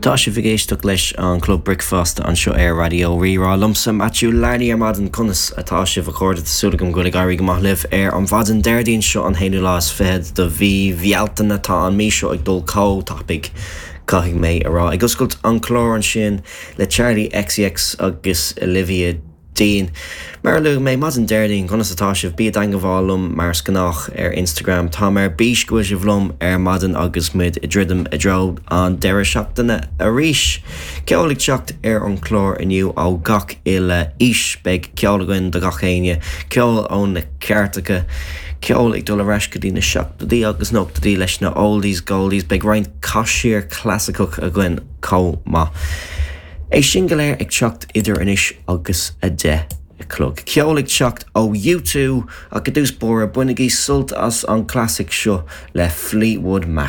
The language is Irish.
Tá sibh ag éisteacht leis an Club Bricfeasta anseo ar Raidió Rí-Rá. Liomsa Matthew Larney ar maidin. Conas atá sibh a chairde? Tá súil agam go bhfuil ag éirí go maith libh ar an mhaidin Déardaoin seo an haonú lá is fichead de mhí Bhealtaine. Tá an mí seo ag dul chomh tapaidh caithfidh mé a rá. Ag oscailt an clár ansin le Charli XCX agus Olivia Dean. Mar a luaigh mé, maidin Déardaoin, conas atá sibh? Bí i dteangabháil liom mar is gnách ar Instagram. Táim ar bís go bhfuil sibh liom ar maidin agus muid ag druidim i dtreo an deireadh seachtaine arís. Ceol ag teacht ar an chlár inniu ó gach uile aois. Beidh ceol againn do gach éinne, ceol ó na cairteacha, ceol ag dul ar ais go dtí na seachtóidí agus nóchaidí leis na oldies goldies. Beidh roinnt caisír clasaiceach againn chomh maith. É sin go léir ag teacht idir anois agus 10 a chlog. Ceol ag teacht ó U2 ach i dtús báire bainigí sult as an clasaic seo le Fleetwood Mac.